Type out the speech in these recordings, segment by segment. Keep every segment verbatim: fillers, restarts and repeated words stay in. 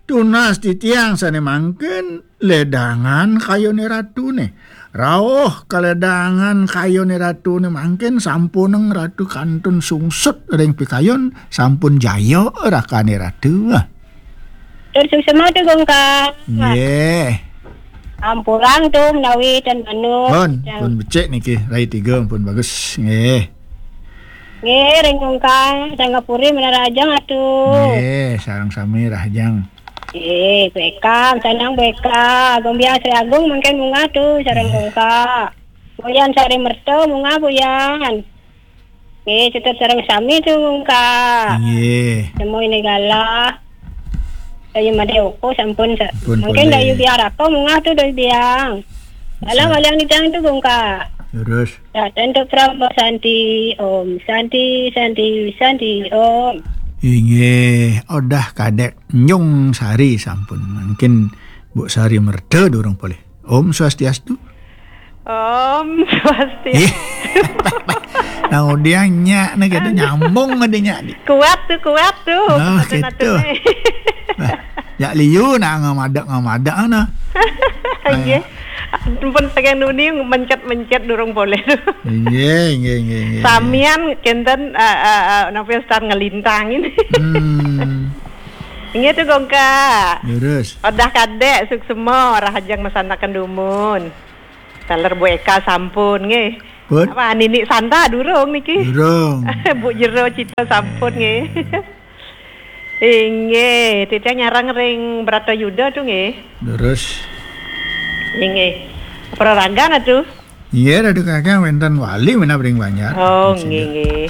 Tunas titiang sane mangkin ledangan kayone ratune. Rauh kaledangan kayone ratune mangkin sampuneng ratu kantun sungsut ring pikayon, sampun jaya rakane ratu. Tur suksema tu, Gungka. Nggih. Ampurang tu menawi ten manut. Pun, pun becik niki, rai tiga pun bagus. Nggih. Nggih, ring Gungka, Sangapuri menarajang atu. Nggih, sareng sami rahajeng. Nggih, Bu Eka, sanang Bu Eka. Agung Biang Sri Agung mangkin munggah tu, sareng Gungka. Buyan Sari Merta munggah, Buyan. Nggih, tetep sareng sami tu, Gungka. Nggih. Semua ini galah. Dayu Made Oko sampun sa-, Pun mungkin polih. Dayu Biang Raka munggah tu, Dayu Biang. Galah waliang nidang tu, Gungka. Terus. Ya, tentu Prama Santi, Om Santi, Santi, Santi, Om. Inggih, Odah Kadek Nyung Sari sampun. Mungkin Bu Sari Merta durung polih. Om Swastiastu. Om Swastiastu. Nah, udah nyak nih, kita nyambung ada nyak di. Kuat tu, kuat tu. Nah, gitu. Nah, jak liu nak ngamadak-ngamadak, nah. Nggih. Ampun, saking nuni mencet-mencet durung polih tu. Nggih, nggih, nggih, nggih. Samian kenten, eh, eh, eh, napa star ngelintang ini. Hmm. Nggih tu, Gungka. Leres. Odah Kadek, suksema, rahajeng masanaken dumun. Taler Bu Eka sampun, nggih. Pun? Apa, Nini Santa durung niki? Durung. Bu Jero Cita sampun, nggih. Inggih, titiang nyareng ring Bratayuda tu, nggih. Leres. Inggih. Praragan atu? Inggih, Ratu Kakang wenten wali menap ring Banjar. Oh, nggih, nggih.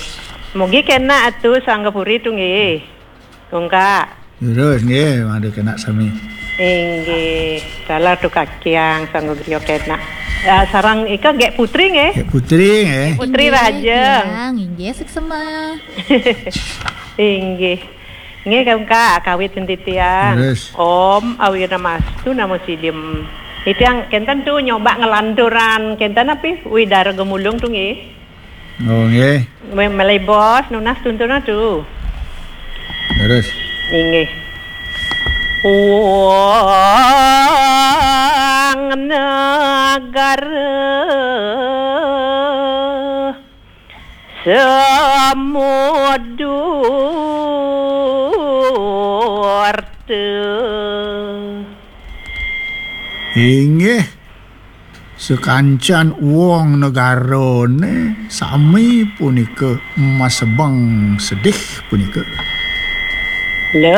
Mugi kena atu Sangapuri tu, nggih. Gungka. Leres, nggih, mangda kena sami. Inggih, taler tu Kakang, Sangga Griya kena. Ya, sareng Ika Gek Putri, nggih. Gek Putri, nggih. Putri Inggih, rahajeng. Tiang, inggih, suksema. Inggih. Nggih, Gungka, kawit titiang. Leres. Om Awiramastu Namo Sidim. Titiang kenten tu nyoba ngelanturan, kenten api? Widara Gemulung tu, nggih. Oh, nggih. Me-, melebos nunas tuntun atu. Leres. Inggih. Wong negara Samudurta. Inggih. Sakancan wong negarane sami punika masebeng sedih punika. Lek